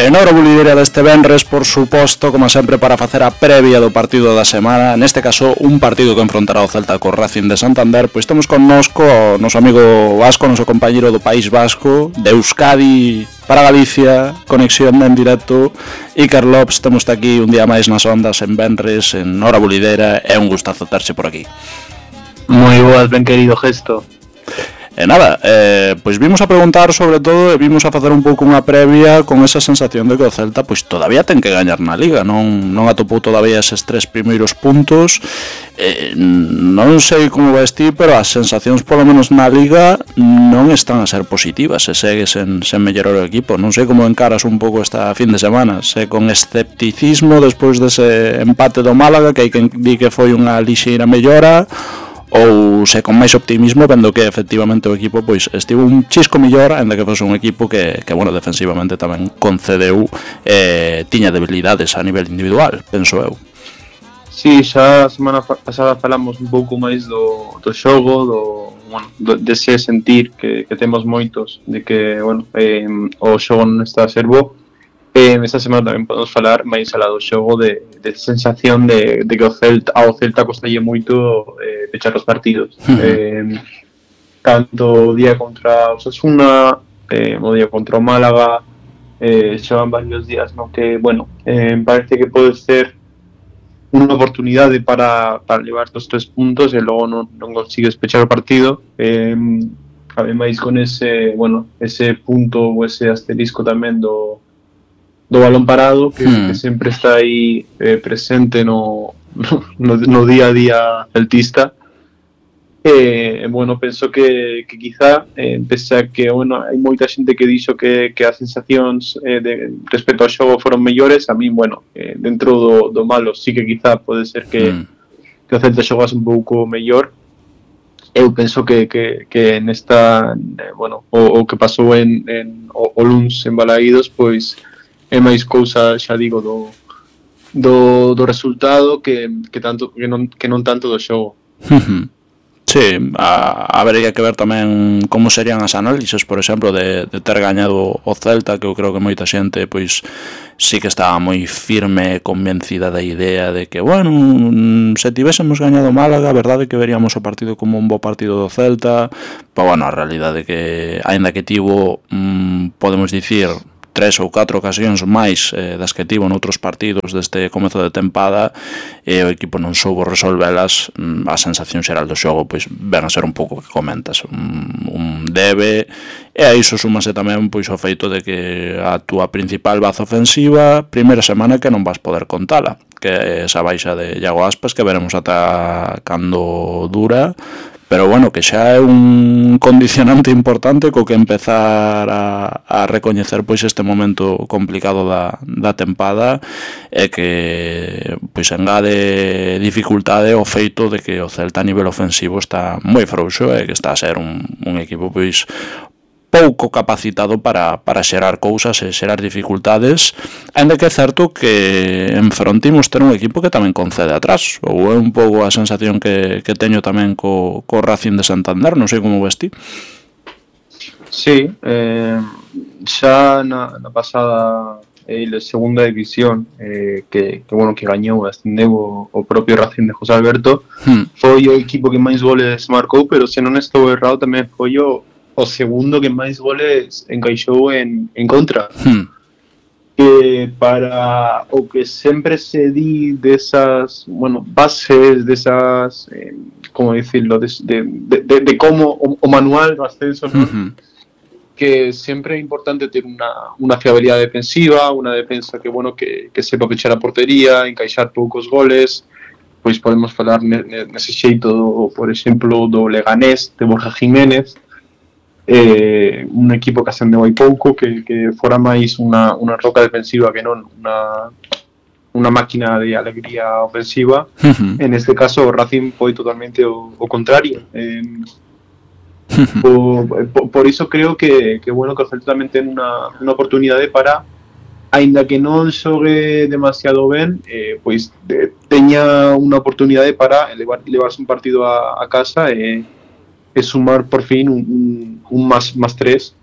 En hora bulideira deste venres, por suposto, como sempre, para facer a previa do partido da semana, neste caso un partido que enfrontará o Celta co Racing de Santander, pois temos connosco o noso amigo Vasco, noso compañeiro do País Vasco, de Euskadi para Galicia, conexión en directo. Iker Lopes, temos aquí un día máis nas ondas en venres, en hora bulideira, é un gustazo terse por aquí. Moi boas, ben querido Gesto. E nada, pois vimos a preguntar sobre todo e vimos a facer un pouco unha previa con esa sensación de que o Celta pois todavía ten que gañar na Liga, non atopou todavía eses 3 primeiros puntos. Non sei como vais ti, pero as sensacións polo menos na Liga non están a ser positivas, se segue sen mellorar o equipo. Non sei como encaras un pouco esta fin de semana, se con escepticismo despois dese empate do Málaga, que hai quen di que foi unha lixeira mellora, ou se con máis optimismo, vendo que efectivamente o equipo pois estivo un chisco mellor, ainda que fose un equipo que bueno, defensivamente tamén concedeu, tiña debilidades a nivel individual, penso eu. Sí, xa a semana pasada falamos un pouco máis do xogo, dese sentir que temos moitos, de que, bueno, o xogo non está a ser bo. Esta semana tamén podemos falar máis alá do xogo de sensación de que ao Celta costalle moito pechar os partidos. Tanto o día contra o Osasuna, o día contra o Málaga, xa van varios días no que, bueno, parece que pode ser unha oportunidade para levar os 3 puntos e logo non consigues pechar o partido. Ademais con ese punto ou ese asterisco tamén do balón parado que sempre está aí presente no día a día celtista. Bueno, penso que quizá, pese a que hai moita xente que dixo que as sensacións respecto ao xogo foron mellores, a mí, bueno, dentro do malo sí que quizá pode ser que o Celta xogase un pouco mellor. Eu penso que nesta, bueno, o que pasou o luns en Balaídos, pois é máis cousa, xa digo, do resultado que non tanto do xogo. Sí, habería que ver tamén como serían as análises, por exemplo, de ter gañado o Celta, que eu creo que moita xente pois sí que estaba moi firme e convencida da idea de que, bueno, se tivésemos gañado Málaga, a verdade que veríamos o partido como un bo partido do Celta, pero bueno, a realidade que, aínda que tivo, podemos dicir, 3 ou 4 ocasións máis das que tivo noutros partidos deste comezo de tempada, e o equipo non soubo resolvelas. A sensación xeral do xogo pois ven a ser un pouco que comentas, un debe, e a iso súmase tamén pois o feito de que a túa principal baza ofensiva, primeira semana que non vas poder contala, que é esa baixa de Iago Aspas, que veremos ata cando dura, pero bueno, que xa é un condicionante importante co que empezar a recoñecer pois este momento complicado da tempada, e que pois engade dificultade o feito de que o Celta a nivel ofensivo está moi frouxo e que está a ser un equipo pois pouco capacitado para xerar cousas e xerar dificultades, ainda que é certo que enfrontimos ter un equipo que tamén concede atrás, ou é un pouco a sensación que teño tamén co Racing de Santander, non sei como ves ti. Sí, xa na pasada segunda división, que gañou, ascendeu o propio Racing de José Alberto, foi o equipo que máis goles marcou, pero se non estou errado tamén foi o segundo que máis goles encaixou en contra. Que para o que sempre se di desas, bueno, bases, desas, como dicirlo, de como o manual do ascenso, ¿no? Que sempre é importante ter unha fiabilidade defensiva, unha defensa que, bueno, que sepa pechar a portería, encaixar poucos goles. Pois podemos falar nese xeito, por exemplo, do Leganés, de Borja Jiménez, un equipo que ascendeu hai pouco, que fora máis unha roca defensiva que non unha máquina de alegría ofensiva. En este caso o Racing foi totalmente o contrario. Por iso creo que bueno, que o Celta tamén ten unha oportunidade para, aínda que non xogue demasiado ben, pois teña unha oportunidade para levarse un partido a casa e sumar por fin un más 3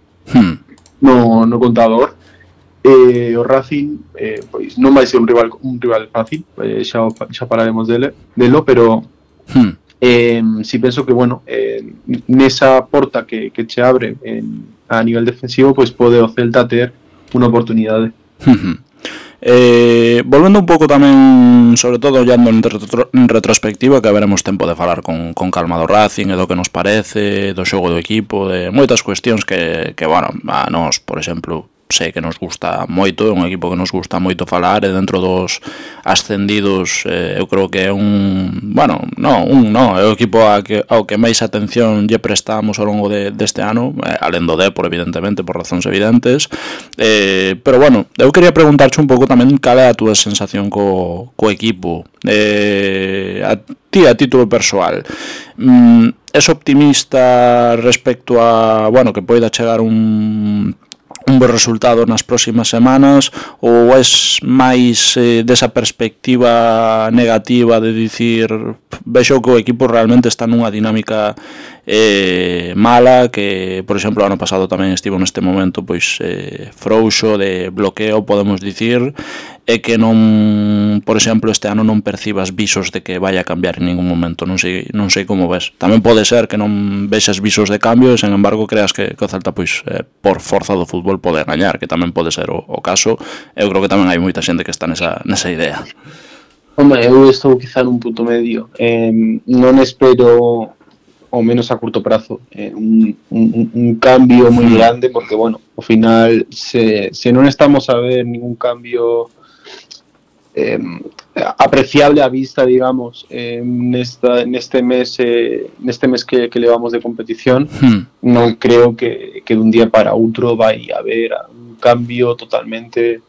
no contador. o Racing pois non vai ser un rival fácil, xa falaremos delo, pero si penso que, bueno, nesa porta que che abre a nivel defensivo, pois pode o Celta ter unha oportunidade. Volvendo un pouco tamén, sobre todo ollando en retrospectiva, que veremos tempo de falar con calma do Racing e do que nos parece, do xogo do equipo, de moitas cuestións que bueno, a nós, por exemplo, sei que nos gusta moito, é un equipo que nos gusta moito falar, e dentro dos ascendidos eu creo que é é o equipo ao que máis atención lle prestamos ao longo deste ano, alén do Depor, evidentemente, por razóns evidentes, pero bueno, eu quería preguntarche un pouco tamén cal é a túa sensación co equipo, a título persoal. Es optimista respecto a, bueno, que poida chegar un bo resultado nas próximas semanas, ou es máis desa perspectiva negativa de dicir vexo que o equipo realmente está nunha dinámica mala, que por exemplo o ano pasado tamén estivo neste momento pois frouxo, de bloqueo, podemos dicir, e que non, por exemplo, este ano non percibas visos de que vai a cambiar en ningún momento. Non sei como ves. Tamén pode ser que non vexas visos de cambio e, sen embargo, creas que o Celta, pois, por forza do fútbol pode gañar, que tamén pode ser o caso. Eu creo que tamén hai moita xente que está nesa idea. Home, eu estou quizá nun punto medio. Non espero, ao menos a curto prazo, un cambio moi grande, porque, bueno, ao final, se non estamos a ver ningún cambio apreciable a vista, digamos, neste mes que levamos de competición, non creo que dun día para outro vai haber un cambio totalmente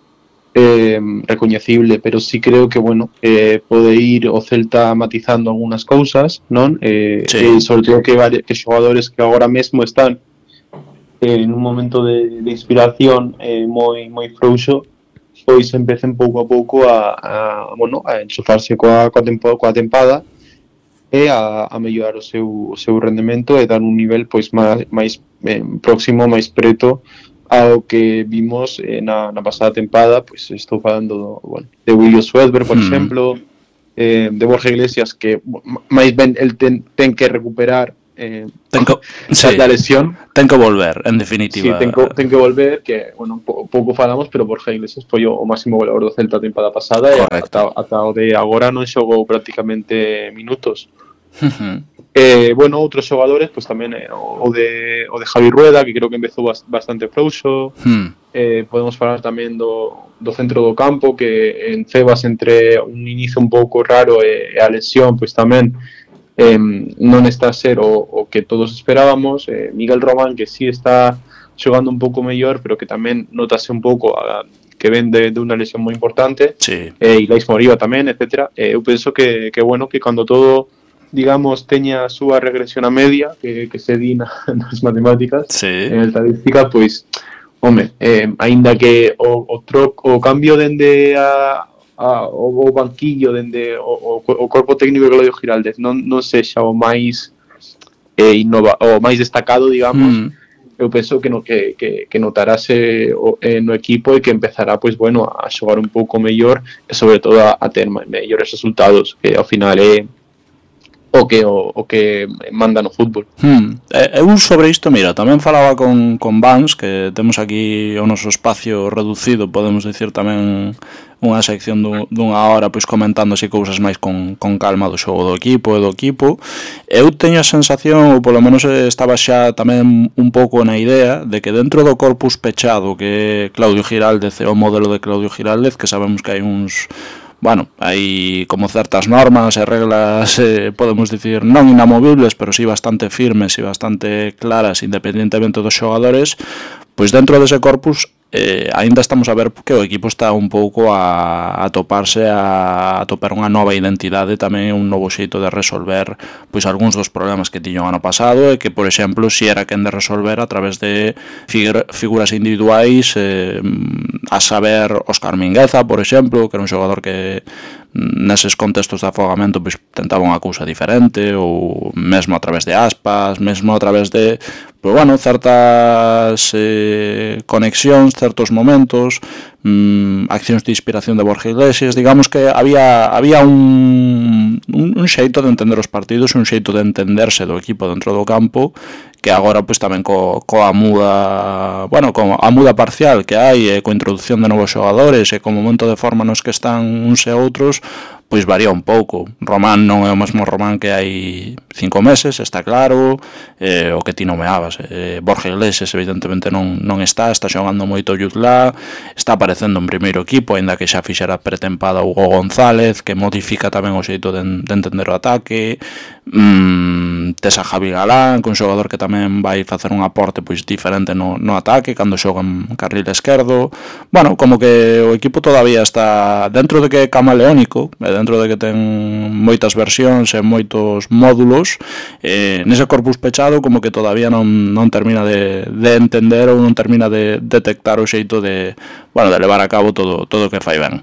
recoñecible, pero sí creo que, bueno, pode ir o Celta matizando algunhas cousas, non? Sí. Sobre todo que xogadores que agora mesmo están en un momento de inspiración moi frouxo, pois empecen pouco a pouco a enchufarse coa tempada e a mellorar o seu rendemento e dar un nivel pois máis próximo, máis preto ao que vimos na pasada tempada. Pois estou falando de William Swedberg, por exemplo, de Borja Iglesias, que máis ben el ten que recuperar da lesión. Ten que volver, en definitiva. Sí, ten que volver, que, bueno, pouco falamos, pero Borja Iglesias foi o máximo goleador do Celta a tempada pasada. Correcto. E ata o de agora non xogou prácticamente minutos. Bueno, outros xogadores, pois tamén o de Javi Rueda, que creo que empezou bastante frouxo. Podemos falar tamén do centro do campo, que en Cebas, entre un inicio un pouco raro e a lesión, pois tamén non está a ser o que todos esperábamos. Miguel Román, que sí está xogando un pouco mellor, pero que tamén notase un pouco que ven de unha lesión moi importante. Sí. Ilais Moriba tamén, etc. Eu penso que bueno, que cando todo, digamos, teña a súa regresión a media, que se di nas matemáticas, sí, en estadística, pois, home, aínda que o cambio dende o banquillo, dende o corpo técnico de Claudio Giraldez non sexa o máis o máis destacado, digamos, eu penso que notarase no equipo e que empezará, pois, bueno, a xogar un pouco mellor e, sobre todo, a ter mellores resultados, que ao final é o que manda no fútbol. Eu sobre isto, mira, tamén falaba con Vans, que temos aquí o noso espacio reducido, podemos dicir tamén unha sección dunha hora, pois comentando así cousas máis con calma do xogo do equipo e do equipo. Eu teño a sensación, ou polo menos estaba xa tamén un pouco na idea, de que dentro do corpus pechado que Claudio Giraldez é o modelo de Claudio Giraldez, que sabemos que hai uns... Bueno, hai como certas normas e reglas, podemos dicir, non inamovibles, pero sí bastante firmes e bastante claras, independentemente dos xogadores. Pois dentro dese corpus aínda estamos a ver que o equipo está un pouco a toparse, a topar unha nova identidade, tamén un novo xeito de resolver pois algúns dos problemas que tiño o ano pasado, e que, por exemplo, si era quen de resolver a través de figuras individuais, a saber Óscar Mingueza, por exemplo, que era un xogador que neses contextos de afogamento pois tentaba unha cousa diferente, ou mesmo a través de Aspas, mesmo a través de pois bueno, certas conexións, certos momentos, accións de inspiración de Borja Iglesias. Digamos que había un xeito de entender os partidos, un xeito de entenderse do equipo dentro do campo, que agora pois tamén coa muda, bueno, como a muda parcial que hai, coa introducción de novos xogadores e co momento de forma nos que están uns e outros, pois varía un pouco. Román non é o mesmo Román que hai 5 meses, está claro, o que ti nomeabas. Borja Iglesias evidentemente non está xogando moito Yutla, está aparecendo en primeiro equipo, aínda que xa fixera pretempada Hugo González, que modifica tamén o xeito de entender o ataque. Tes a Javi Galán, que é un xogador que tamén vai facer un aporte pois diferente no ataque cando xoga en carril esquerdo. Bueno, como que o equipo todavía está dentro de que é camaleónico, dentro de que ten moitas versións e moitos módulos, nese corpus pechado como que todavía non termina de entender ou non termina de detectar o xeito de, bueno, de levar a cabo todo o que fai ben,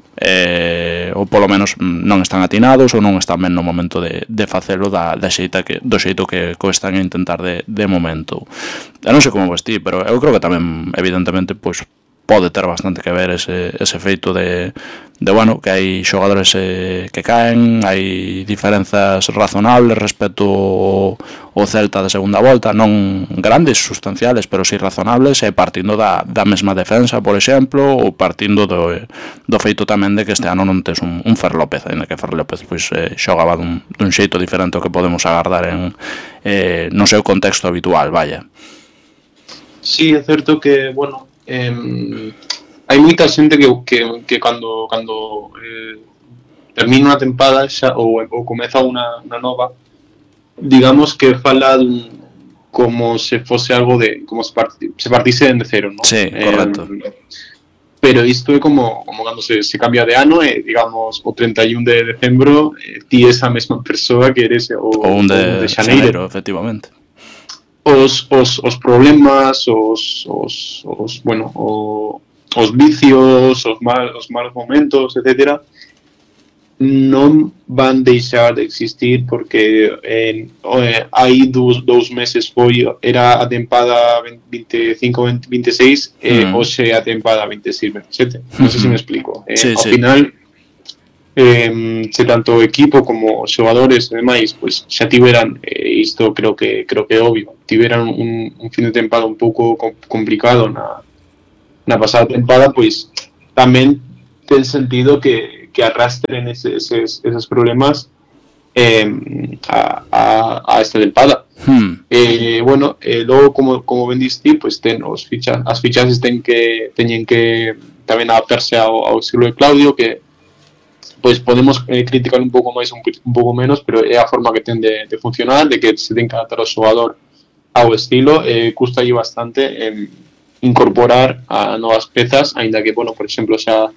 ou polo menos non están atinados ou non están ben no momento de facelo do xeito que están a intentar de momento. Eu non sei como vestí, pero eu creo que tamén evidentemente pois pode ter bastante que ver ese feito de bueno, que hai xogadores que caen, hai diferenzas razonables respecto ao Celta de segunda volta, non grandes, sustanciales, pero si razonables, e partindo da mesma defensa, por exemplo, ou partindo do feito tamén de que este ano non tes un Fer López, ainda que Fer López pois xogaba dun xeito diferente ao que podemos agardar no seu contexto habitual, vaya. Sí, é certo que, bueno, hai moita xente que cando termina unha tempada xa, ou comeza unha nova, digamos que fala como se fose algo de como se partise de cero, ¿no? Sí, correcto. Pero isto é como cando se cambia de ano, digamos, o 31 de decembro ti és a mesma persoa que eres o un de xaneiro, efectivamente. Os problemas, bueno, os vicios, os malos momentos, etcétera, non van deixar de existir porque hai dous meses era a tempada 25-26 hoxe a tempada 26-27. Non sei se me explico. Sí, ao final, se tanto o equipo como os xogadores e demais pois xa tiveran, isto creo que é obvio, tiveran un fin de tempada un pouco complicado na pasada tempada, pois tamén ten sentido que arrastren esos problemas a esta tempada. Bueno, logo como ben diste, pois ten as fichaxes teñen que tamén adaptarse ao estilo de Claudio, que pois podemos criticar un pouco máis, un pouco menos, pero é a forma que ten de funcionar, de que se ten que adaptar o xogador ao estilo. Custalle bastante incorporar a novas pezas, aínda que, bueno, por exemplo, xa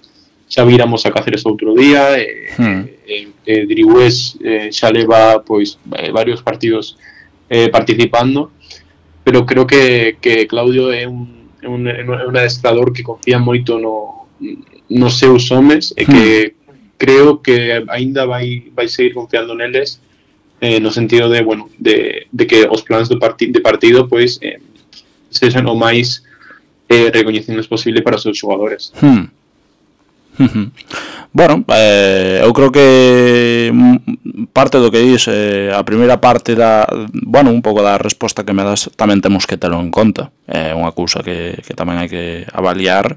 viramos a Cáceres outro día, Drigüés xa leva pois varios partidos participando, pero creo que Claudio é un adestrador que confía moito nos seus homes e que creo que aínda vai seguir confiando neles, no sentido de, bueno, de que os plans de partido pois sexan o máis recoñecidos posible para os seus xogadores. Bueno, eu creo que parte do que dis, a primeira parte bueno, un pouco da resposta que me das tamén temos que telo en conta. É unha cousa que tamén hai que avaliar,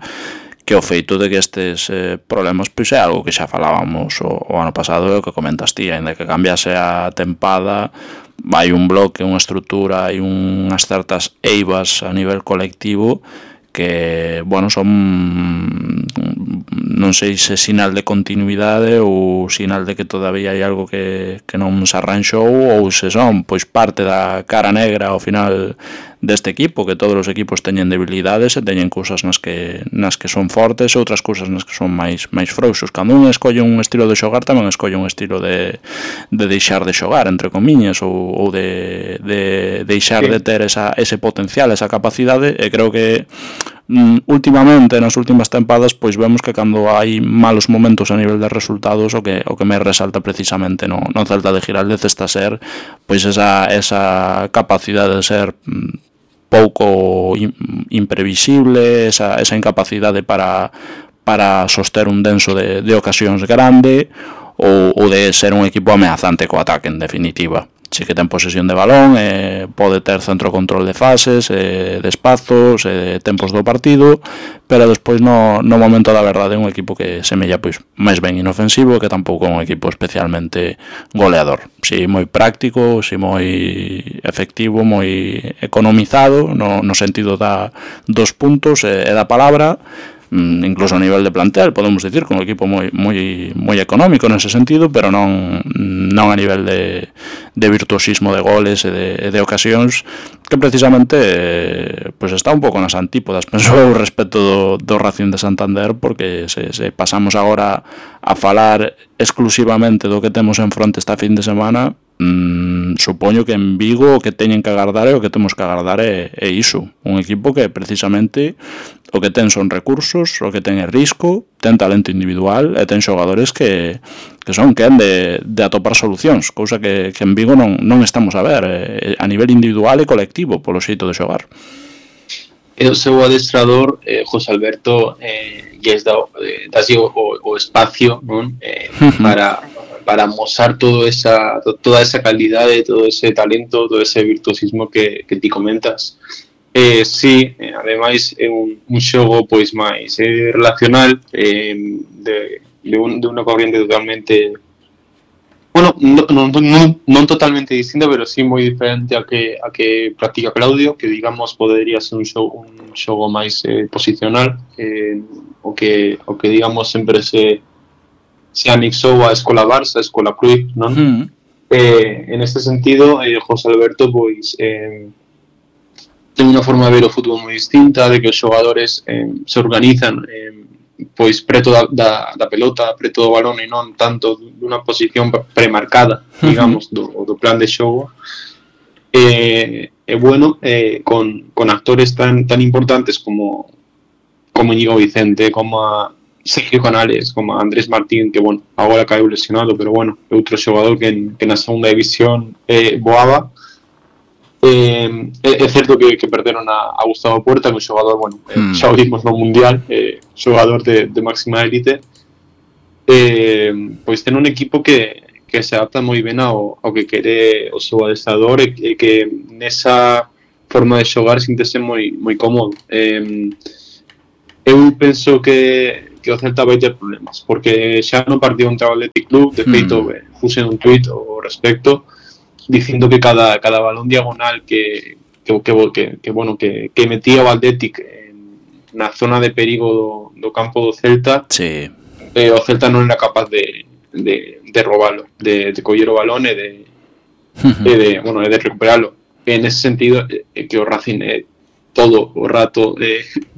que o feito de que estes problemas pois é algo que xa falábamos o ano pasado, e o que comentas ti, ainda que cambiase a tempada, hai un bloque, unha estrutura, hai unhas certas eivas a nivel colectivo que, bueno, son, non sei se sinal de continuidade ou sinal de que todavía hai algo que non se arranxou, ou se son pois parte da cara negra ao final deste equipo, que todos os equipos teñen debilidades e teñen cousas nas que son fortes e outras cousas nas que son máis frouxos. Cando un escolle un estilo de xogar, tamén escolle un estilo de deixar de xogar, entre comiñas, ou de deixar de ter ese potencial, esa capacidade, e creo que últimamente, nas últimas tempadas, pois vemos que cando hai malos momentos a nivel de resultados, o que me resalta precisamente no Celta de Giraldez está a ser pois esa capacidade de ser pouco imprevisible, esa incapacidade para soster un denso de ocasións grande, ou de ser un equipo ameazante co ataque, en definitiva. Si que ten posesión de balón, pode ter centro control de fases, de espazos, de tempos do partido, pero despois no momento da verdade é un equipo que semella pois máis ben inofensivo, que tampouco é un equipo especialmente goleador. Si moi práctico, si moi efectivo, moi economizado no sentido dos puntos e da palabra, incluso a nivel de plantel, podemos dicir, con un equipo moi económico nese sentido, pero non a nivel de virtuosismo de goles e de ocasións, que precisamente pois está un pouco nas antípodas, penso eu, respecto do Racing de Santander, porque se pasamos agora a falar exclusivamente do que temos en fronte esta fin de semana, supoño que en Vigo o que teñen que agardar e o que temos que agardar é iso, un equipo que precisamente o que ten son recursos, o que ten é risco, ten talento individual e ten xogadores que son quen de atopar solucións, cousa que en Vigo non estamos a ver a nivel individual e colectivo polo xeito de xogar. O seu adestrador, José Alberto, lles dá o espacio, non? Para mostrar toda esa calidade, todo ese talento, todo ese virtuosismo que ti comentas. Sí, ademais é un xogo pois máis relacional, de unha corriente totalmente, bueno, non totalmente distinta, pero sí moi diferente a que practica Claudio, que digamos podería ser un xogo máis posicional, o que digamos sempre se anexou a Escola Barça, a Escola Cruyff, non? En este sentido, José Alberto pois ten unha forma de ver o fútbol moi distinta, de que os xogadores se organizan pois preto da pelota, preto do balón, e non tanto dunha posición premarcada, digamos, do plan de xogo. Bueno, con actores tan importantes como Íñigo Vicente, como a Sergio Canales, como Andrés Martín, que, bueno, agora caeu lesionado, pero, bueno, é outro xogador que na segunda división voaba. É certo que perderon a Gustavo Puerta, que é un xogador, bueno, xa o vimos no Mundial, xogador de máxima élite. Pois ten un equipo que se adapta moi ben ao que quere o seu adestrador, e que nesa forma de xogar síntese moi cómodo. Eu penso que o Celta vai ter problemas, porque xa no partido contra o Athletic Club, de feito, puse un tuit ao respecto, dicindo que cada balón diagonal que metía o Athletic na zona de perigo do campo do Celta, sí. O Celta non era capaz de robalo, de coller o balón e de recuperalo. En ese sentido, que o Racing todo o rato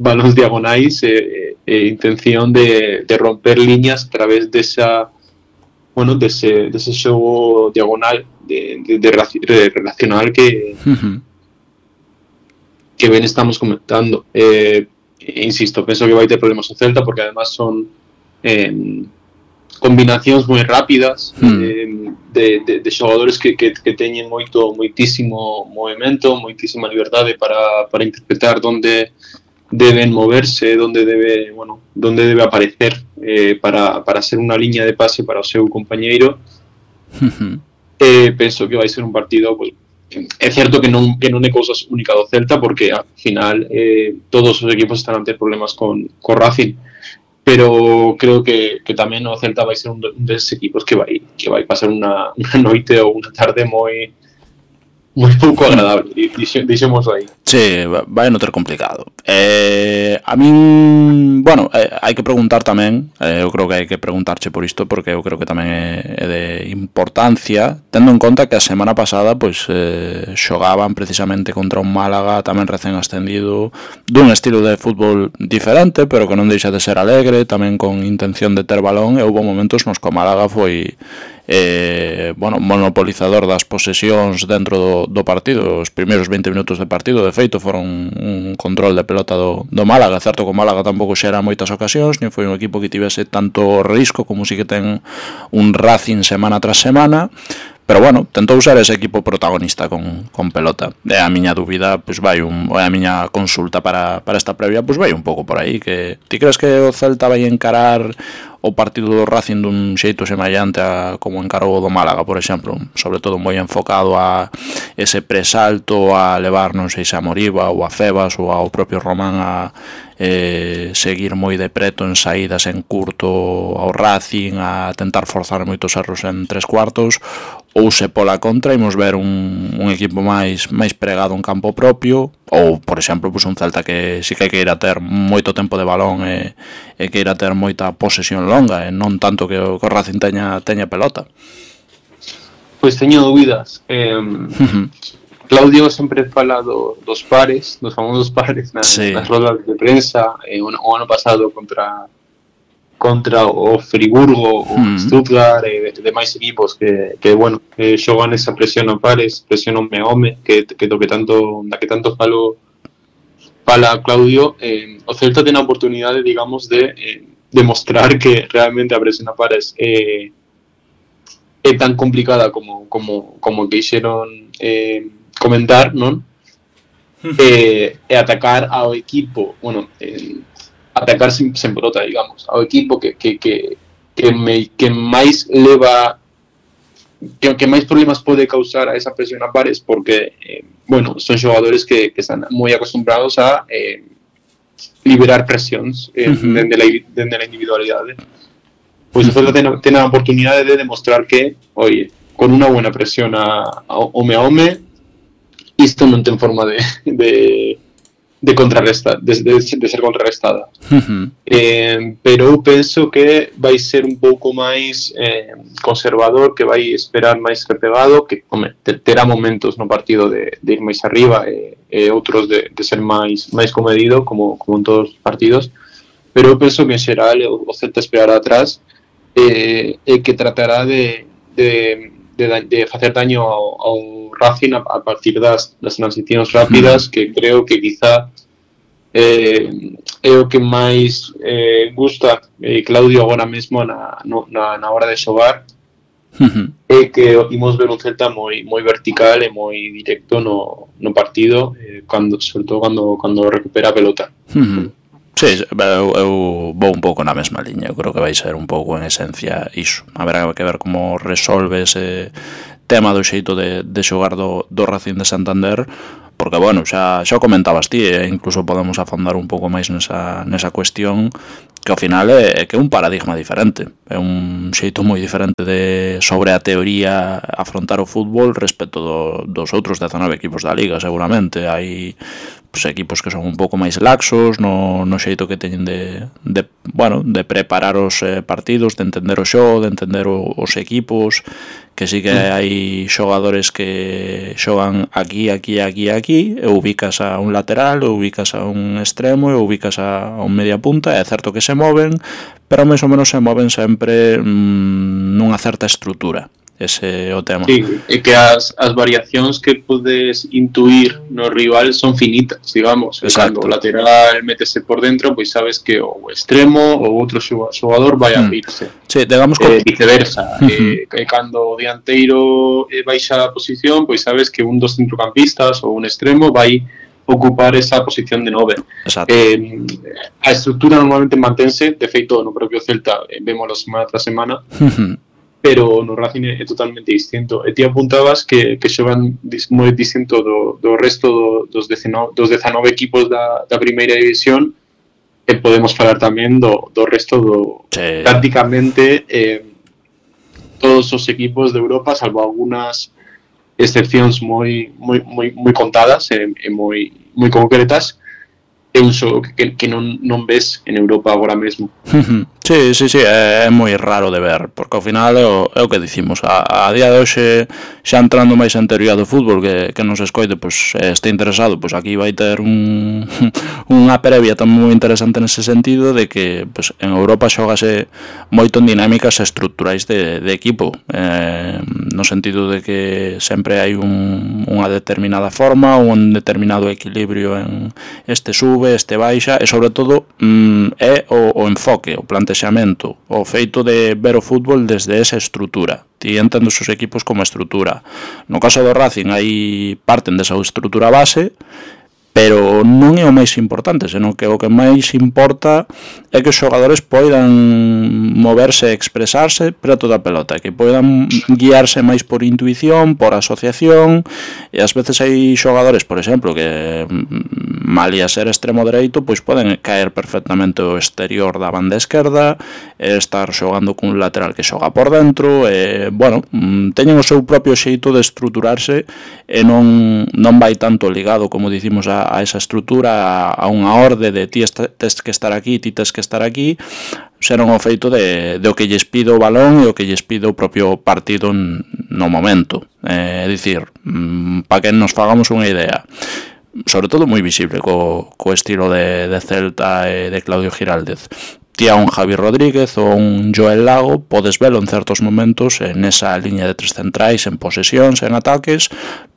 balóns diagonais, intención de romper líneas a través dese xogo diagonal de relacional que ben estamos comentando. Insisto, penso que vai ter problemas o Celta, porque además son combinacións moi rápidas, de xogadores que teñen moitísimo movimento, moitísima liberdade para interpretar onde deben moverse, onde debe aparecer, para ser unha liña de pase para o seu compañeiro. Penso que vai ser un partido, pues, é certo que non é cousa única do Celta, porque ao final todos os equipos están a ter problemas con Racing, pero creo que tamén o Celta vai ser un deses equipos que vai pasar unha noite ou unha tarde moi pouco agradable, dixemos aí. Sí, vai non ter complicado. A min, bueno, hai que preguntar tamén, eu creo que hai que preguntarche por isto, porque eu creo que tamén é de importancia, tendo en conta que a semana pasada pois xogaban precisamente contra un Málaga tamén recén ascendido, dun estilo de fútbol diferente, pero que non deixa de ser alegre, tamén con intención de ter balón, e houve momentos nos que o Málaga foi monopolizador das posesións dentro do partido. Os primeiros 20 minutos de partido, de feito, foron un control de pelota do Málaga. Certo que o Málaga tampouco xera moitas ocasións, nin foi un equipo que tivese tanto risco como si que ten un Racing semana tras semana, pero bueno, tentou ser ese equipo protagonista con pelota. E a miña dúbida, pois a miña consulta para esta previa, pois vai un pouco por aí, que ti crees que o Celta vai encarar o partido do Racing dun xeito semellante a como encarou o do Málaga, por exemplo, sobre todo moi enfocado a ese presalto, a levar, non sei se a Moriba ou a Febas ou ao propio Román a seguir moi de preto en saídas en curto ao Racing, a tentar forzar moitos erros en tres cuartos, ou se pola contra imos ver un equipo máis pregado en campo propio, ou, por exemplo, pues un Celta que si que queira ter moito tempo de balón e queira ter moita posesión longa, e non tanto que o Racing teña pelota. Pois teño dúbidas. Claudio sempre fala dos pares, dos famosos pares nas rodas de prensa. O ano pasado contra o Friburgo, o Stuttgart e demais equipos que xogan esa presión a pares, presión home a home, que tanto fala Claudio. O Celta ten a oportunidade, digamos, de demostrar que realmente a presión a pares é tan complicada como quixeron comentar, non? E atacar ao equipo, atacar sen pelota, digamos, ao equipo que máis leva, que máis problemas pode causar a esa presión a pares, porque son xogadores que están moi acostumbrados a liberar presións dende a individualidade. Pois o Celta ten a oportunidade de demostrar que, con unha buena presión a home a home, isto non ten forma de contrarrestar, de ser contrarrestada. Pero eu penso que vai ser un pouco máis conservador, que vai esperar máis repegado, que terá momentos no partido de ir máis arriba e outros de ser máis comedido, como en todos os partidos. Pero eu penso que en xeral o Celta esperará atrás e que tratará de facer daño ao Racing a partir das transicións rápidas, que creo que quizá é o que máis gusta Claudio agora mesmo na hora de xogar, é que imos ver un Celta moi vertical e moi directo no partido, sobre todo cando recupera a pelota. Sí, eu vou un pouco na mesma liña. Eu creo que vai ser un pouco en esencia iso. Haberá que ver como resolve ese tema do xeito de xogar do Racing de Santander, porque, xa o comentabas ti, e incluso podemos afondar un pouco máis nesa cuestión, que ao final é que é un paradigma diferente, é un xeito moi diferente de sobre a teoría afrontar o fútbol respecto dos outros 19 equipos da Liga. Seguramente hai equipos que son un pouco máis laxos no xeito que teñen de preparar os partidos, de entender o xogo, de entender os equipos, que sí que hai xogadores que xogan aquí, e ubicas a un lateral, e ubicas a un extremo, e ubicas a un media punta. É certo que se moven, pero máis ou menos se moven sempre nunha certa estrutura. Ese é o tema. Sí, e que as variacións que podes intuir no rival son finitas, digamos. Cando o lateral métese por dentro, pois sabes que o extremo ou outro xogador vai a abrirse. Sí, digamos que viceversa. E cando o dianteiro baixa a posición, pois sabes que un dos centrocampistas ou un extremo vai ocupar esa posición de 9. A estrutura normalmente mantense, de feito no propio Celta vémoslo semana tras semana, pero no Racing é totalmente distinto. E ti apuntabas que xogan moi distinto do resto dos 19 equipos da primeira división, e podemos falar tamén do resto prácticamente todos os equipos de Europa, salvo algunhas excepcións moi contadas e moi concretas, é un xogo que non ves en Europa agora mesmo. Sí, é moi raro de ver, porque ao final é o que dicimos, a día de hoxe, xa entrando máis en teoría do fútbol, que nos escoite, pois este interesado, pois aquí vai ter unha previa tamén moi interesante nese sentido, de que pois en Europa xógase moito en dinámicas estruturais de equipo, no sentido de que sempre hai unha determinada forma, un determinado equilibrio en este sube, este baixa, e sobre todo é o enfoque, o plantexamento, o feito de ver o fútbol desde esa estrutura. Ti entendo os equipos como estrutura. No caso do Racing, aí parten desa estrutura base, pero non é o máis importante, senón que o que máis importa é que os xogadores poidan moverse e expresarse preto da pelota, que poidan guiarse máis por intuición, por asociación, e ás veces hai xogadores, por exemplo, que malia ser extremo dereito, pois poden caer perfectamente o exterior da banda esquerda, e estar xogando cun lateral que xoga por dentro, e, bueno, teñen o seu propio xeito de estruturarse e non vai tanto ligado, como dicimos, a esa estrutura, a unha orde de ti tes que estar aquí, ti tes que estar aquí, serán o feito de o que lles pide o balón e o que lles pide o propio partido no momento. É dicir, para que nos fagamos unha idea, sobre todo moi visible co estilo de Celta e de Claudio Giraldez. Ti a un Javi Rodríguez ou un Joel Lago podes velo en certos momentos en esa liña de tres centrais, en posesións, en ataques,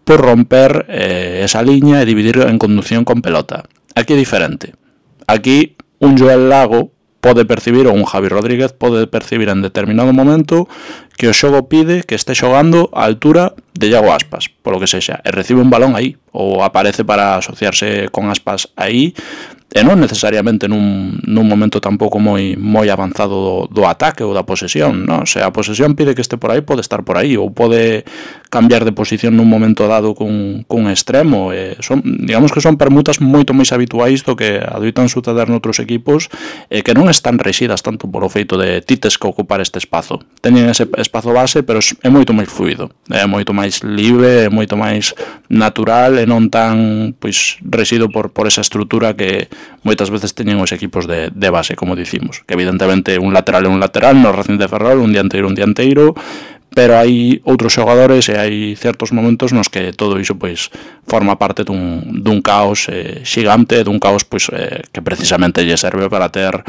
por romper esa liña e dividir en conducción con pelota. Aquí é diferente. Aquí un Joel Lago pode percibir, ou un Javi Rodríguez pode percibir en determinado momento que o xogo pide que este xogando a altura de Iago Aspas, polo que sexa, e recibe un balón aí, ou aparece para asociarse con Aspas aí, e non necesariamente nun momento tampouco moi avanzado do ataque ou da posesión, non? Se a posesión pide que este por aí, pode estar por aí, ou pode cambiar de posición nun momento dado cun extremo, digamos que son permutas moito máis habituais do que adoitan suceder noutros equipos, e que non están rexidas tanto por o feito de ti tes que ocupar este espazo. Teñen ese espazo base, pero é moito máis fluido, é moito máis libre, é moito máis natural, e non tan pois rexido por esa estrutura que moitas veces teñen os equipos de base, como dicimos, que evidentemente un lateral é un lateral, no Racing de Ferrol, un dianteiro, pero hai outros xogadores e hai certos momentos nos que todo iso pois forma parte dun caos xigante, dun caos pois que precisamente lle serve para ter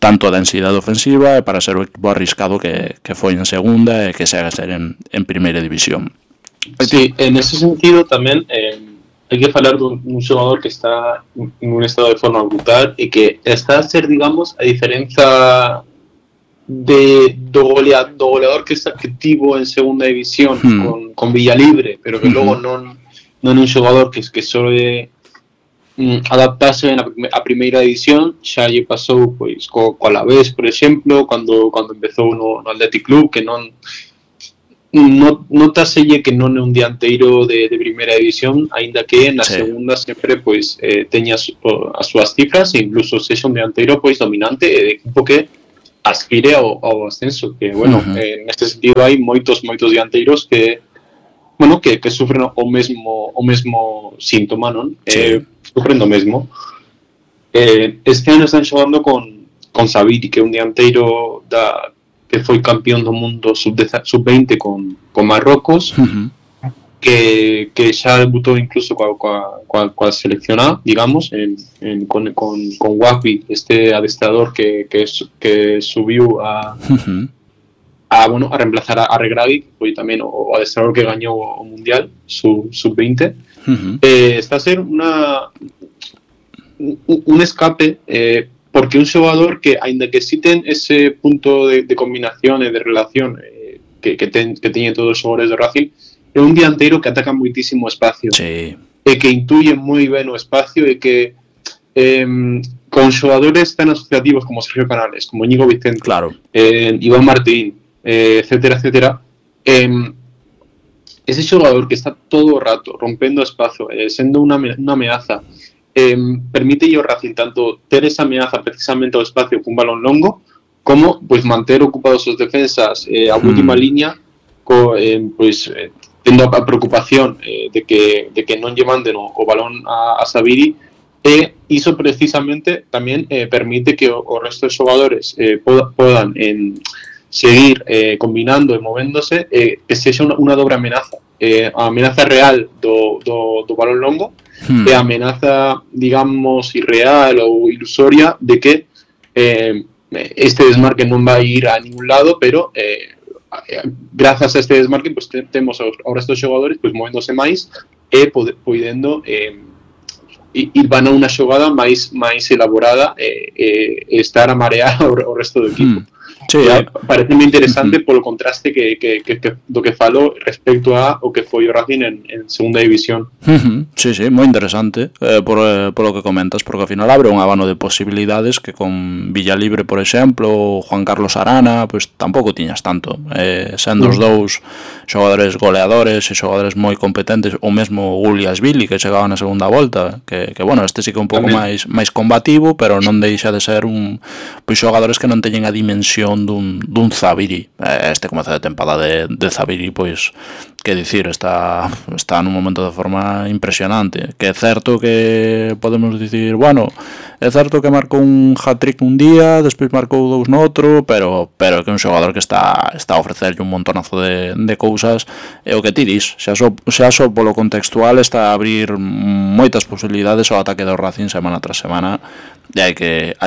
tanto a densidade ofensiva e para ser o equipo arriscado que foi en segunda e que segue a ser en primeira división. Sí, en ese sentido tamén hai que falar dun xogador que está en un estado de forma brutal e que está a ser, digamos, a diferenza do goleador que está activo en segunda división con Villalibre, pero que logo non é un xogador que sole adaptarse a primeira división. Xa lle pasou pois co Alavés, por exemplo, cando empezou no Athletic Club, que notaselle que non é un dianteiro de primeira división, aínda que na segunda sempre pois teña as súas cifras e incluso sexa un dianteiro pois dominante e de equipo que aspire ao ascenso, que bueno, neste sentido hai moitos dianteiros que bueno, que sufren o mesmo síntoma, non? Sufren do mesmo. Este ano están xogando con Sabiri, que é un dianteiro que foi campeón do mundo sub-20 con Marrocos, que xa debutou incluso coa seleccionada, digamos, con Wafi, este adestrador que subiu a reemplazar a Regragui, que foi tamén o adestrador que gañou o Mundial sub-20. Está a ser un escape, porque un xogador que, aínda que si ten ese punto de combinación e de relación que teñen todos os xogadores de Racing, é un dianteiro que ataca moitísimo espacio, e que intuye moi ben o espacio, e que con xogadores tan asociativos como Sergio Canales, como Íñigo Vicente, Iván Martín, etcétera, ese xogador que está todo o rato rompendo espazo, sendo unha ameaza, permite ao Racing tanto ter esa ameaza precisamente ao espacio cun balón longo, como pois manter ocupados os defensas a última liña, tendo a preocupación de que non lle manden o balón a Sabiri, E iso precisamente tamén permite que o resto de xogadores podan seguir combinando e movéndose, que sexa unha dobre amenaza. A amenaza real do balón longo e a amenaza, digamos, irreal ou ilusoria de que este desmarque non vai ir a ningún lado, pero grazas a este desmarque pues, temos ao resto dos xogadores pues, movéndose máis e podendo ir van a unha xogada máis elaborada e estar a marear o resto do equipo. Sí, parece moi interesante polo contraste que do que falo respecto a o que foi o Racing en segunda división. Sí, moi interesante por lo que comentas, porque ao final abre un abano de posibilidades que con Villalibre, por exemplo, ou Juan Carlos Arana, pues tampouco tiñas tanto, sendo os dous xogadores goleadores e xogadores moi competentes, ou mesmo Guliasvili que chegaba na segunda volta, que bueno, este sí que é un pouco máis combativo, pero non deixa de ser pois xogadores que non teñen a dimensión dun Zabiri. Este comezo de tempada de Zabiri, pois que dicir, está nun momento de forma impresionante, que é certo que podemos dicir, bueno, é certo que marcou un hat-trick un día, despois marcou dous no outro, pero que é un xogador que está a ofrecerlle un montonazo de cousas, e o que ti dis, xa só polo contextual está a abrir moitas posibilidades ao ataque do Racing semana tras semana, e hai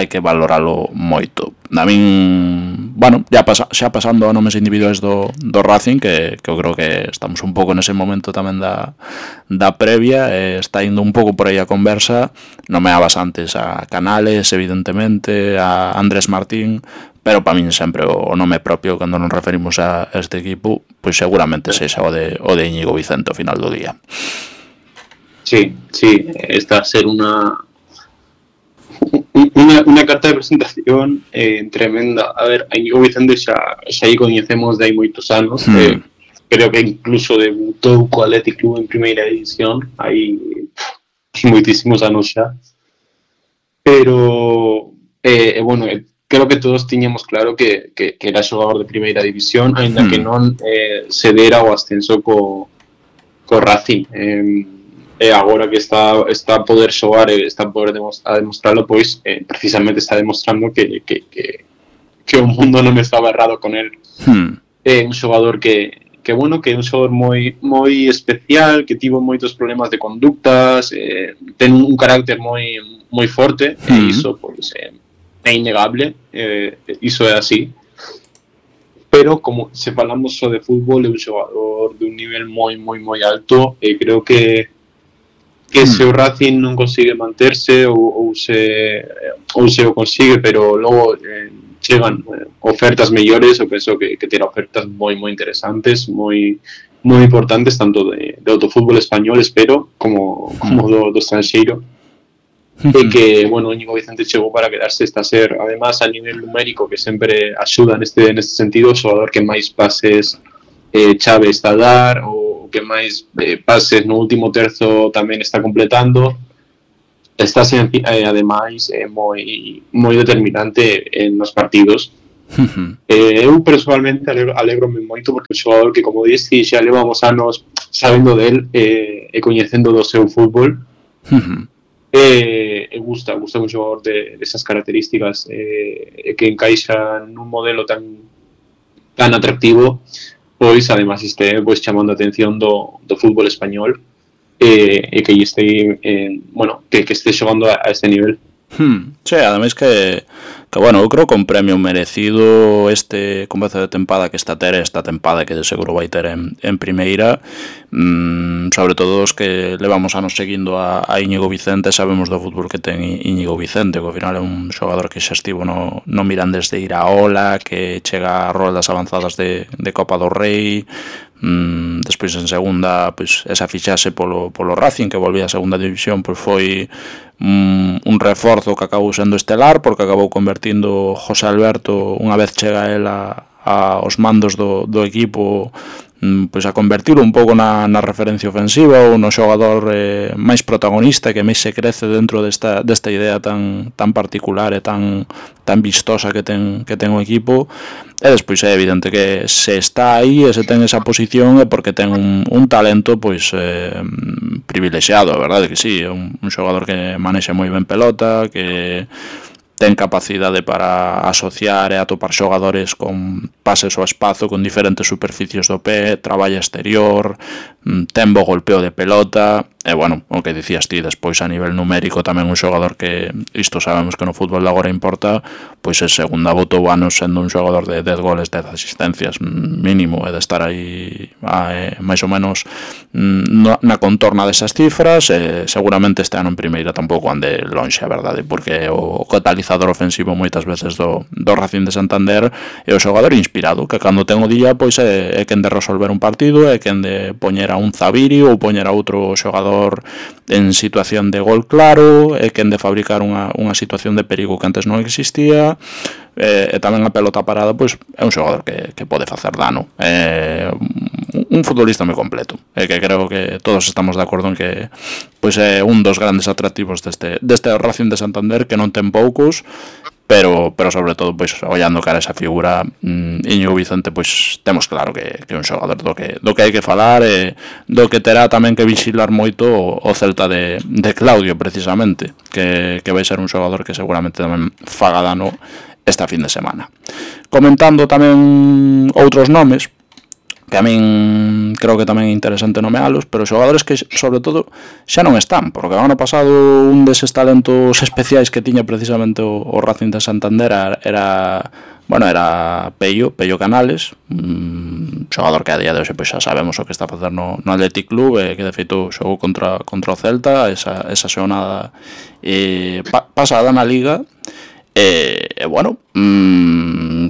que valoralo moito. A min, bueno, xa pasando a nomes individuais do Racing, que eu creo que estamos un pouco nese momento tamén da previa, está indo un pouco por aí a conversa. Nomeabas antes a Canales, evidentemente, a Andrés Martín, pero para min sempre o nome propio cando nos referimos a este equipo, pois seguramente sexa o de Íñigo Vicente ao final do día. Sí, está a ser unha carta de presentación tremenda. A ver, a Íñigo Vicente xa coñecemos de hai moitos anos. Creo que incluso debutou co Athletic Club en primeira división hai moitísimos anos xa. Pero bueno, creo que todos tiñamos claro que era xogador de primeira división, aínda que non se dera o ascenso co Racing. E agora que está a poder xogar e está a poder demostrarlo, pois precisamente está demostrando que o mundo non estaba errado con el. É un xogador que bueno, que é un xogador moi especial, que tivo moitos problemas de conductas, ten un carácter moi forte, e iso pois é innegable, iso é así. Pero como se falamos só de fútbol, é un xogador de un nivel moi alto, e creo que se o Racing non consigue manterse ou se o consigue, pero logo chegan ofertas mellores, eu penso que terá ofertas moi interesantes, moi importantes, tanto de autofútbol español, espero, como do estranxeiro. E que, bueno, Íñigo Vicente chegou para quedarse, está a ser, además, a nivel numérico, que sempre axuda neste sentido, o xogador que máis pases chave está a dar, o que máis pases no último terzo tamén está completando. Está ademais moi determinante nos partidos. Eu personalmente alegrome moito porque o xogador que, como dixi, xa levamos anos sabendo del e coñecendo do seu fútbol. E gusta un xogador desas características que encaixa nun modelo tan atractivo, pois además este pois chamando a atención do fútbol español e que este que este xogando a este nivel. Sí, ademais que bueno, eu creo que un premio merecido este comezo de tempada que está a ter esta tempada, que de seguro vai ter en primeira, sobre todo os que levamos anos seguindo a Íñigo Vicente, sabemos do fútbol que ten Íñigo Vicente, que ao final é un xogador que xa estivo no Mirandés de Iraola, que chega a roldas avanzadas de Copa do Rei. Despois en segunda, pois esa fichaxe polo Racing, que volvía a segunda división, pois foi un reforzo que acabou sendo estelar, porque acabou convertindo José Alberto, unha vez chega el aos mandos do equipo, pois a convertirlo un pouco na referencia ofensiva ou no xogador máis protagonista que máis se crece dentro desta idea tan particular e tan vistosa que ten o equipo. E despois é evidente que se está aí e se ten esa posición é porque ten un talento pois privilexiado, a verdade que sí, é un xogador que manexa moi ben pelota, que ten capacidade para asociar e atopar xogadores con pases ao espazo, con diferentes superficies do pé, traballa exterior, ten bo golpeo de pelota, e bueno, o que dicías ti, despois a nivel numérico tamén un xogador que, isto sabemos que no fútbol de agora importa, pois é segunda botou anos sendo un xogador de 10 goles, 10 asistencias mínimo, e de estar aí máis ou menos na contorna desas cifras, e seguramente este ano en primeira tampouco ande lonxe, a verdade, porque o catalizador ofensivo moitas veces do Racing de Santander é o xogador inspirado, que cando ten o día pois é quen de resolver un partido, é quen de poñer a un Zabiri ou poñer a outro xogador en situación de gol claro, é quen de fabricar unha situación de perigo que antes non existía, e tamén a pelota parada pois é un xogador que pode facer dano, un futbolista moi completo, e que creo que todos estamos de acordo en que pois é un dos grandes atractivos deste Racing de Santander, que non ten poucos, pero sobre todo pois ollando cara a esa figura, Íñigo Vicente, pois temos claro que é un xogador do que hai que falar, e do que terá tamén que vixilar moito o Celta de Claudio, precisamente, que vai ser un xogador que seguramente tamén faga dano esta fin de semana. Comentando tamén outros nomes que a min creo que tamén é interesante nomealos, pero xogadores que sobre todo xa non están, porque o ano pasado un deses talentos especiais que tiña precisamente o Racing de Santander era Pello Canales, xogador que a día de hoxe pois xa sabemos o que está a facer no Athletic Club, que de feito xogou contra o Celta esa xornada pasada na Liga. Bueno,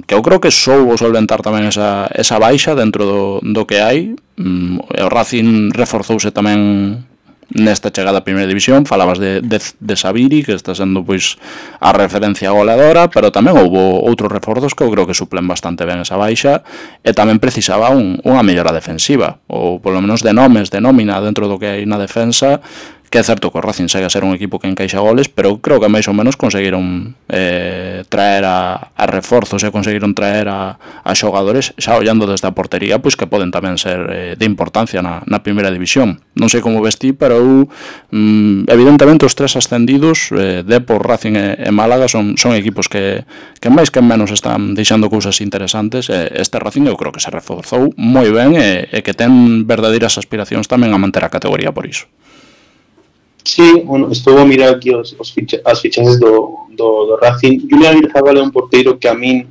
que eu creo que soubo solventar tamén esa baixa dentro do que hai. O Racing reforzouse tamén nesta chegada a primeira división. Falabas de Zabiri, que está sendo pois a referencia goleadora, pero tamén houbo outros reforzos que eu creo que suplen bastante ben esa baixa, e tamén precisaba unha mellora defensiva, ou polo menos de nomes, de nómina dentro do que hai na defensa, que é certo que o Racing segue a ser un equipo que encaixa goles, pero creo que máis ou menos conseguiron traer a reforzos e conseguiron traer a xogadores xa ollando desde a portería, pois que poden tamén ser de importancia na primeira división. Non sei como vestí, pero eu evidentemente os tres ascendidos, Depor, Racing e Málaga, son equipos que máis que menos están deixando cousas interesantes. Este Racing eu creo que se reforzou moi ben e que ten verdadeiras aspiracións tamén a manter a categoría por iso. Sí, bueno, estou a mirar aquí as fichajes do Racing. Julián Irzabal é un porteiro que a min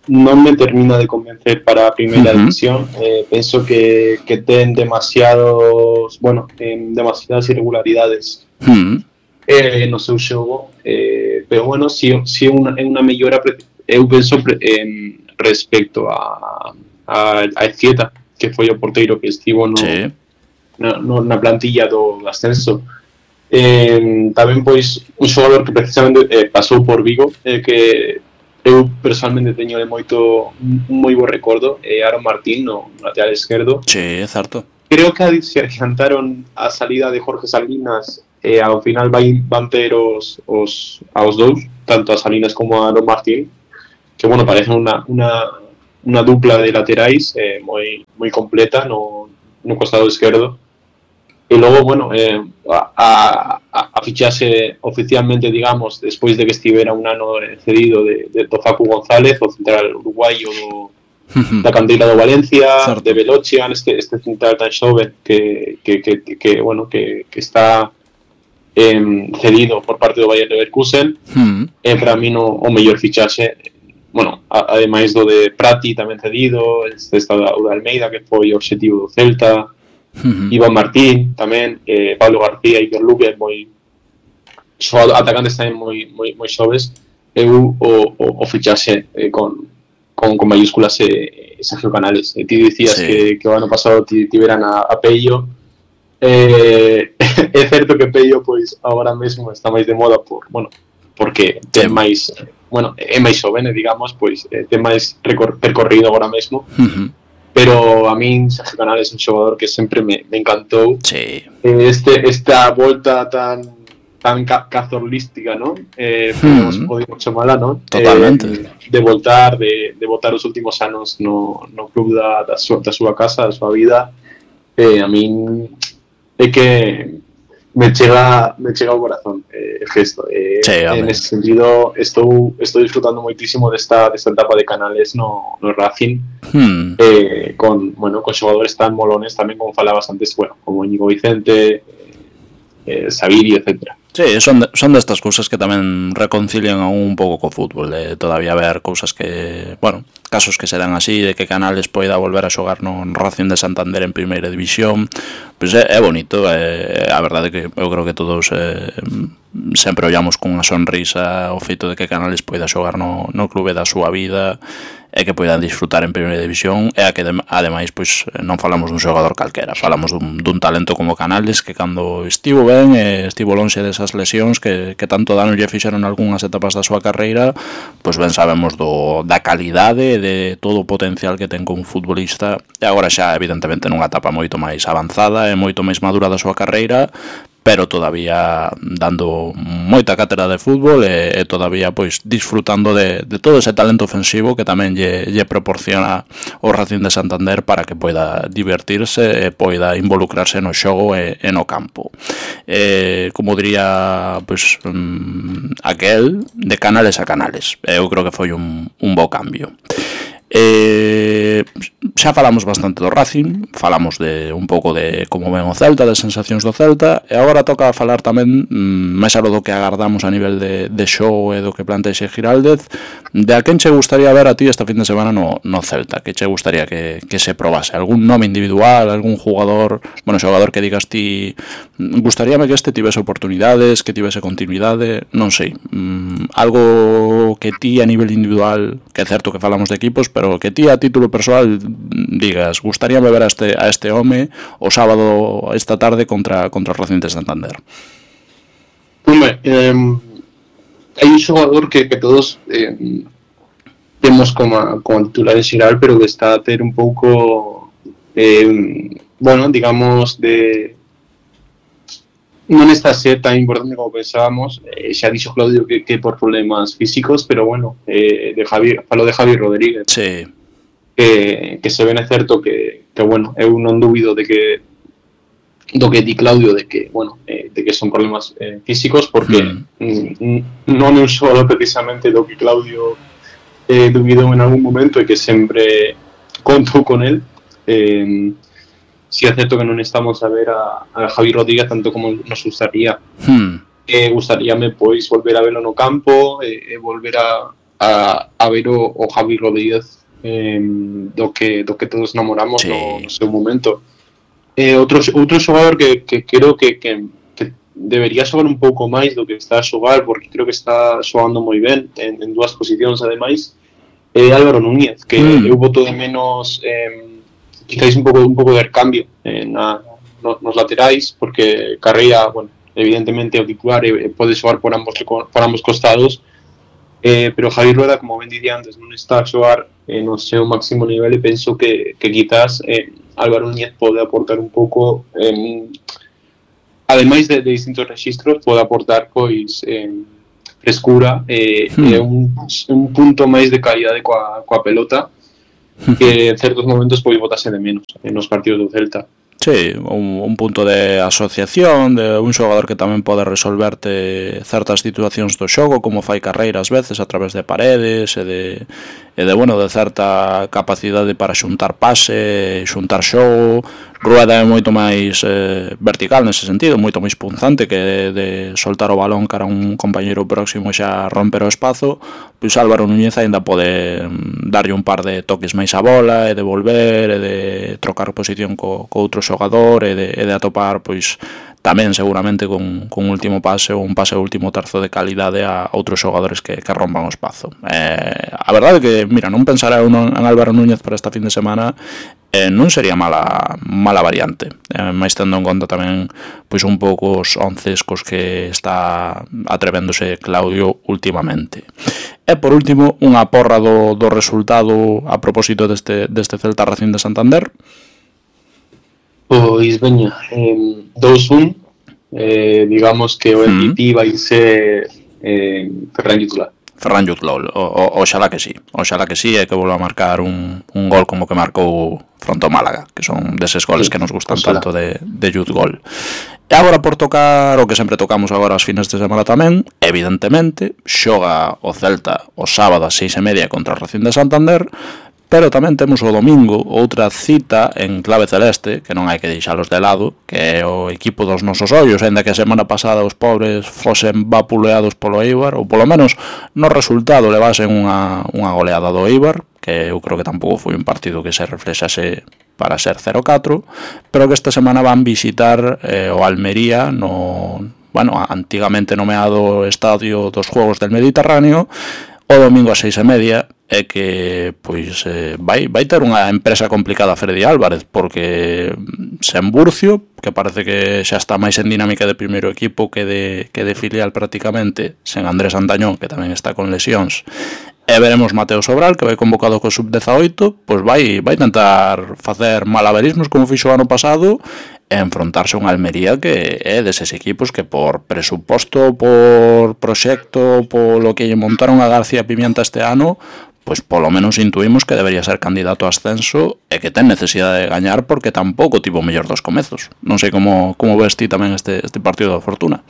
non me termina de convencer para a primeira división. Penso que ten demasiadas irregularidades no seu xogo, pero bueno, si é unha mellora, eu penso respecto a Ezquieta, que foi o porteiro que estivo na plantilla do ascenso. Tamén pois un xogador que precisamente pasou por Vigo, que eu personalmente teño de un moi bo recordo, Aaron Martín no lateral esquerdo. Sí, é certo. Creo que se adiantaron a salida de Jorge Salinas, ao final van ter aos dous, tanto a Salinas como a Aaron Martín, que bueno, parecen unha dupla de laterais moi completa no costado esquerdo. E logo, bueno, a fichase oficialmente, digamos, despois de que estivera un ano cedido de Facu González, o central uruguaio da canteira do Valencia, certo, de Velochian, este central tan xoven que está cedido por parte do Bayer Leverkusen. Para mí o mellor fichaxe, bueno, ademais do de Prati tamén cedido, esta da Almeida, que foi o obxectivo do Celta, Iván Martín tamén, Pablo García e Iker Luque, atacantes tamén moi xoves. Eu o fichaxe con mayúsculas Sergio Canales. Ti dicías que o ano pasado tiveran a Pello. É certo que Pello pois agora mesmo está máis de moda porque ten máis, é máis xovene, digamos, pois ten máis percorrido agora mesmo. pero a min Sergio Canales é un xogador que sempre me encantou. Sí. Esta volta tan cazorlística, ¿no? Podemos chamala, ¿no? Totalmente. De voltar, de botar os últimos anos no club da súa casa, da súa vida. A min é que me chega ao corazón el gesto. En ese sentido, estou disfrutando moitísimo desta etapa de Canales no Racing, con xogadores tan molones tamén, como falabas antes, como Íñigo Vicente, Saviri, etcétera. Sí, son destas cousas que tamén reconcilian un pouco co fútbol, de todavía ver cousas que, casos que se dan así, de que Canales poida volver a xogar no Racing de Santander en primeira división, pois é bonito. A verdade é que eu creo que todos sempre ollamos con unha sonrisa o feito de que Canales poida xogar no clube da súa vida e que poidan disfrutar en primeira división, e a que ademais pois non falamos dun xogador calquera, falamos dun talento como Canales, que cando estivo ben estivo lonxe desas lesións que tanto dano lle fixeron algunhas etapas da súa carreira, pois ben sabemos da calidade, de todo o potencial que ten como futbolista, e agora xa evidentemente nunha etapa moito máis avanzada e moito máis madura da súa carreira, pero todavía dando moita cátedra de fútbol e todavía pois disfrutando de todo ese talento ofensivo que tamén lle proporciona o Racing de Santander para que poida divertirse e poida involucrarse no xogo e no campo. Como diría pois aquel, de Canales a Canales. Eu creo que foi un bo cambio. Xa falamos bastante do Racing, falamos de un pouco de como ven o Celta, de sensacións do Celta, e agora toca falar tamén, máis algo do que agardamos a nivel de xogo e do que plantexe Giraldez, de a quen che gustaría ver a ti esta fin de semana no Celta, que che gustaría que se probase, algún nome individual, algún xogador que digas ti, gustaríame que este tivese oportunidades, que tivese continuidade, non sei, algo que ti a nivel individual, que é certo que falamos de equipos, pero que ti a título persoal digas, gustaríame ver a este home o sábado esta tarde contra o Racing de Santander. Hombre, hai un xogador que todos temos como titular en xeral, pero que está a ter un pouco digamos non está a ser tan importante como pensábamos. Xa dixo Claudio que por problemas físicos, pero falo de Javi Rodríguez, sí, que se ven é certo que eu non dubido do que di Claudio, de que son problemas físicos, porque non é un xogador precisamente do que Claudio dubidou en algún momento e que sempre contou con el. Si é certo que non estamos a ver a Javi Rodríguez tanto como nos gustaría. Gustaríame pois volver a verlo no campo, volver a ver o Javi Rodríguez do que todos namoramos, sí, no seu momento. Outro xogador que creo que debería xogar un pouco máis do que está a xogar, porque creo que está xogando moi ben en dúas posicións ademais, é Álvaro Núñez, que eu boto de menos quizáis un pouco de recambio nos laterais, porque Carreira, evidentemente o titular pode xogar por ambos costados, pero Javi Rueda, como ben dicía antes, non está a xogar no seu máximo nivel, e penso que quizás Álvaro Núñez pode aportar un pouco, ademais de distintos registros, pode aportar pois frescura e un punto máis de calidade coa pelota, que en certos momentos pode botase de menos nos partidos do Celta. Sí, un punto de asociación, de un xogador que tamén pode resolverte certas situacións do xogo, como fai Carreira ás veces a través de paredes e de certa capacidade para xuntar pase, xuntar xogo. Rueda é moito máis vertical nese sentido, moito máis punzante, que de soltar o balón cara a un compañeiro próximo xa romper o espazo. Pois Álvaro Núñez aínda pode darlle un par de toques máis á bola e de volver e de trocar posición co outro xogador e de atopar pois tamén seguramente con último pase ou un pase ao último terzo de calidade a outros xogadores que rompan o espazo. A verdade é que, mira, non pensará eu en Álvaro Núñez para esta fin de semana, non sería mala variante, máis tendo en conta tamén pois un pouco os onces cos que está atrevéndose Claudio últimamente. E por último, unha porra do resultado a propósito deste Celta Racing de Santander. Pois veña, 2-1, digamos que o MVP vai ser Ferran Jutla. Ferran Jutla, oxalá que sí, e que volva a marcar un gol como que marcou fronte ao Málaga, que son deses goles que nos gustan tanto de Jut Gol. E agora por tocar o que sempre tocamos agora as fines de semana tamén, evidentemente, xoga o Celta o sábado ás 6:30 contra o Racing de Santander, pero tamén temos o domingo outra cita en clave celeste, que non hai que deixalos de lado, que é o equipo dos nosos ollos, ainda que a semana pasada os pobres fosen vapuleados polo Eibar, ou polo menos no resultado levasen unha goleada do Eibar, que eu creo que tampouco foi un partido que se reflexase para ser 0-4, pero que esta semana van visitar o Almería no, antigamente nomeado Estadio dos Juegos del Mediterráneo, o domingo ás 6:30, é que pois vai ter unha empresa complicada Freddy Álvarez, porque sen Burcio, que parece que xa está máis en dinámica de primeiro equipo que de filial prácticamente, sen Andrés Antañón, que tamén está con lesións, e veremos Mateo Sobral, que vai convocado co sub-18, pois vai tentar facer malabarismos como fixo o ano pasado e enfrontarse a unha Almería que é deses equipos que por presuposto, por proxecto, polo que lle montaron a García Pimienta este ano, pois polo menos intuímos que debería ser candidato a ascenso e que ten necesidade de gañar porque tampouco tivo o mellor dos comezos. Non sei como ves ti tamén este partido da Fortuna.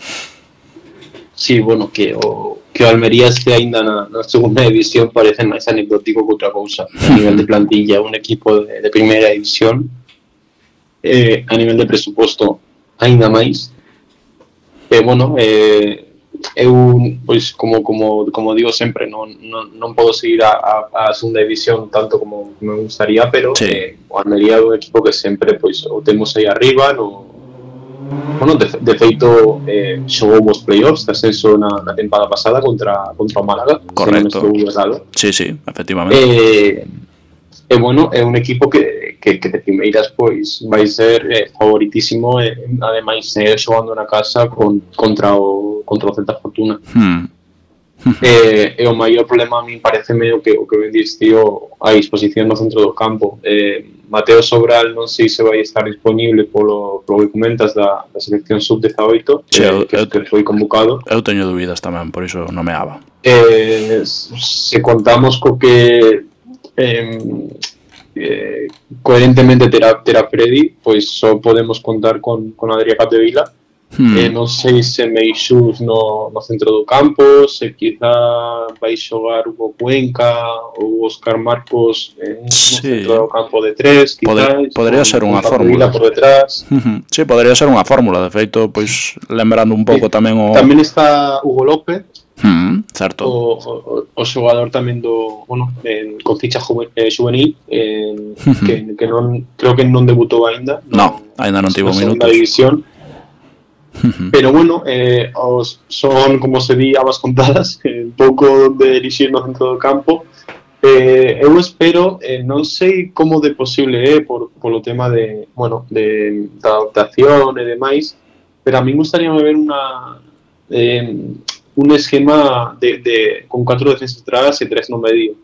Sí, bueno, que o Almería este aínda na segunda división parece máis anecdótico que outra cousa. A nivel de plantilla, un equipo de primeira división, a nivel de presuposto aínda máis. Bueno, eu, pois, como digo sempre, non podo seguir a segunda división tanto como me gustaría, pero sí. O Almería é un equipo que sempre pois o temos aí arriba, bueno, de feito xogou os playoffs de ascenso na tempada pasada contra o Málaga. Correcto. Sí, efectivamente. Bueno, é un equipo que de primeiras pois vai ser favoritísimo e ademais xogando na casa contra o Celta Fortuna. E o maior problema a mí pareceme o que ben diste a disposición no centro do campo. Mateo Sobral non sei se vai estar disponible polo que comentas da selección sub-18, que foi convocado. Eu teño dúbidas tamén, por iso nomeaba. Se contamos co que coherentemente terá Freddy, pois só podemos contar con Adrià Capdevila. Non sei se Meixús no centro do campo, se quizá vai xogar Hugo Cuenca ou Óscar Marcos no centro do campo de tres, quizás. Podría ser unha fórmula por detrás. Sí, podría ser unha fórmula, de feito, pois lembrando un pouco tamén o... Tamén está Hugo López, certo. O xogador tamén con ficha juvenil, que non creo que non debutou aínda. Aínda non tivo minutos. División. Pero bueno, son, como se di, abas contadas, un pouco de elixir no centro do campo. Eu espero, non sei como de posible polo tema de adaptación e demais, pero a mí gustaría ver un esquema con 4 defensas atrás e 3 no medio.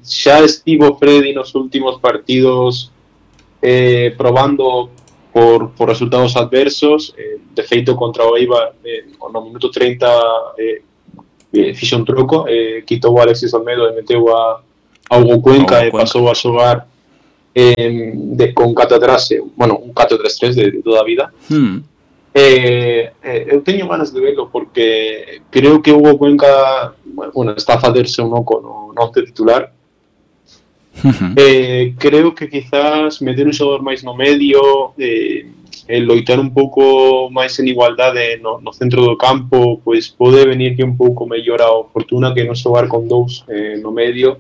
Xa estivo Freddy nos últimos partidos probando por resultados adversos, de feito contra o Eibar no minuto 30 fixo un troco, quitou a Alexis Olmedo e meteu a Hugo Cuenca e pasou a xogar con 4 atrás, un 4-3-3 de toda a vida. Eu teño ganas de verlo porque creo que Hugo Cuenca está a facerse un oco no once titular. Creo que quizás meter un xogador máis no medio, loitar un pouco máis en igualdade no centro do campo, pois pode venir que un pouco mellor a Fortuna que non xogar con 2 no medio.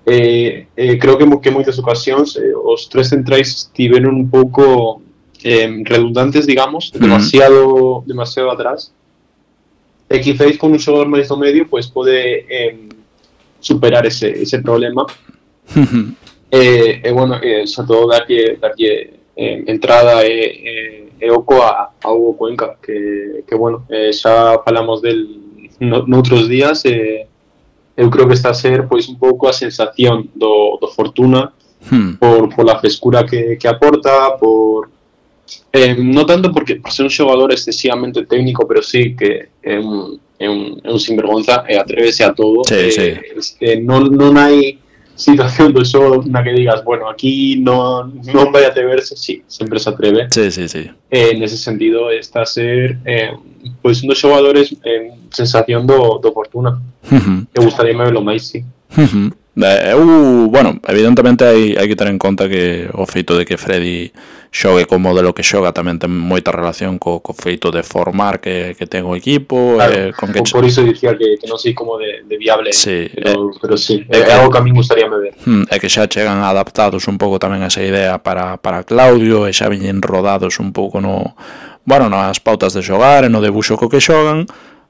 Creo que moitas ocasións os 3 centrais estiveron un pouco redundantes, digamos, demasiado atrás. E quizás con un xogador máis do medio pues pode superar ese problema. Bueno, sobre todo darlle entrada e oco a Hugo Cuenca, que bueno, xa falamos del noutros días. Eu creo que está a ser pois un pouco a sensación do Fortuna por la frescura que aporta, por no tanto por ser un xogador excesivamente técnico, pero sí que é un sinvergonza e atrévese a todo. Non hai situación do xogo na que digas, bueno, aquí non vai atreverse. Sí, sempre se atreve. Sí. Nese sentido está a ser pois un dos xogadores sensación do Fortuna. Eu gustaríame verlo máis, sí. Bueno, evidentemente hai que ter en conta que o feito de que Freddy xogue co modelo que xoga tamén ten moita relación co feito de formar que ten o equipo. Claro, con que por iso dicía que non sei como de viable, sí, pero sí, é algo que a mí gustaríame ver. É que xa chegan adaptados un pouco tamén a esa idea para Claudio, e xa viñen rodados un pouco nas pautas de xogar e no debuxo co que xogan.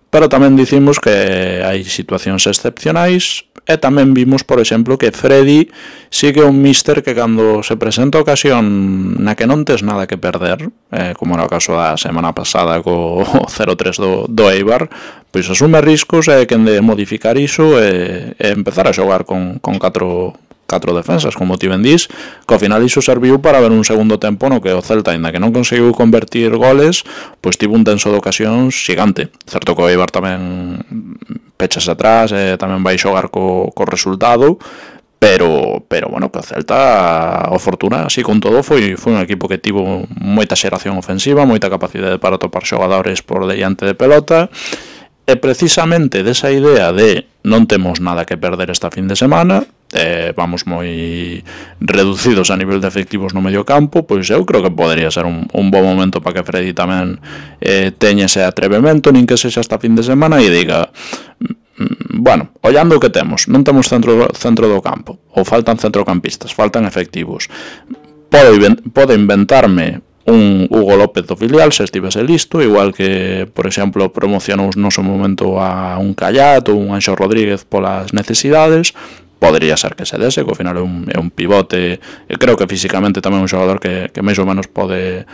Pero tamén dicimos que hai situacións excepcionais e tamén vimos, por exemplo, que Freddy sigue un míster que cando se presenta a ocasión na que non tes nada que perder, como era o caso da semana pasada co 0-3 do Eibar, pois asume riscos e quen de modificar iso e empezar a xogar con 4 defensas, como ti ben dís, que ao final iso serviu para ver un segundo tempo no que o Celta, ainda que non conseguiu convertir goles, pois tivo un tenso de ocasións xigante. Certo que o Eibar tamén pechas atrás e tamén vai xogar co resultado, pero bueno, que o Celta, o Fortuna, así con todo, foi un equipo que tivo moita xeración ofensiva, moita capacidade para topar xogadores por diante de pelota. E precisamente desa idea de non temos nada que perder esta fin de semana, vamos moi reducidos a nivel de efectivos no medio campo, pois eu creo que podería ser un bo momento para que Freddy tamén teña ese atrevemento, nin que sexa esta fin de semana, e diga, bueno, ollando o que temos, non temos centro do campo, ou faltan centrocampistas, faltan efectivos, pode inventarme un Hugo López do filial se estivese listo, igual que, por exemplo, promocionou no seu momento a un Callat ou un Anxo Rodríguez polas necesidades. Podría ser que se dese, que ao final é un pivote, e creo que físicamente tamén é un xogador que máis ou menos pode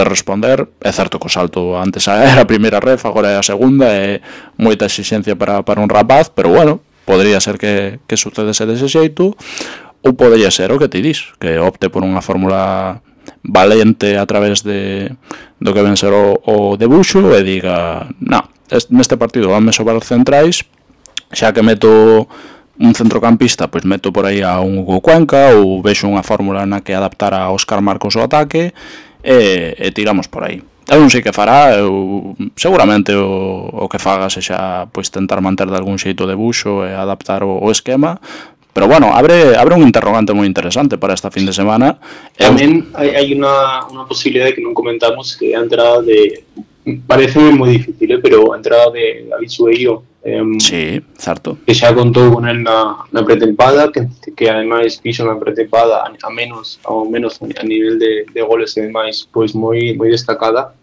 responder. É certo que o salto antes era a primeira ref, agora é a segunda, é moita exigencia para un rapaz, pero bueno, podría ser que sucedese dese xeito, ou podría ser o que ti dis, que opte por unha fórmula valente a través do que ven ser o debuxo e diga, neste partido vanme sobrar centrais, xa que meto un centrocampista, pois meto por aí a un Hugo Cuenca, ou vexo unha fórmula na que adaptar a Óscar Marcos o ataque e tiramos por aí. Eu non sei que fará, seguramente o que faga sexa pois tentar manter de algún xeito o debuxo e adaptar o esquema. Pero bueno, abre un interrogante moi interesante para esta fin de semana. Tamén hai unha posibilidade que non comentamos, que é a entrada de... Parece moi difícil, pero a entrada de David Sueiro. Sí, certo. Que xa contou con el na pretempada, que ademais fixo na pretempada ao menos a nivel de goles e demais, pois moi destacada.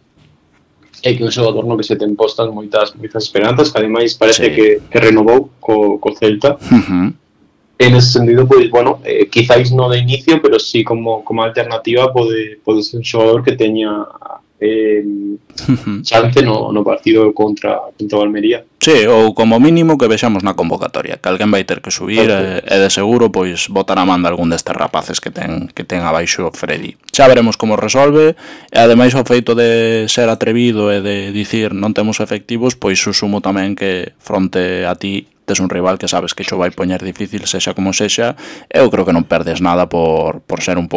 É que un xogador no que se ten postas moitas esperanzas, que ademais parece que renovou co Celta. En ese sentido, pues bueno, quizáis no de inicio, pero sí como alternativa pode ser un xogador que teña chance no partido contra o Almería. Sí, ou como mínimo que vexamos na convocatoria, que alguén vai ter que subir e de seguro pois botar a man de algún destes rapaces que ten abaixo Freddy. Xa veremos como resolve, e ademais o feito de ser atrevido e de dicir non temos efectivos, pois susumo tamén que fronte a ti tes un rival que sabes que xo vai poñer difícil, sexa como sexa, eu creo que non perdes nada por ser un pouco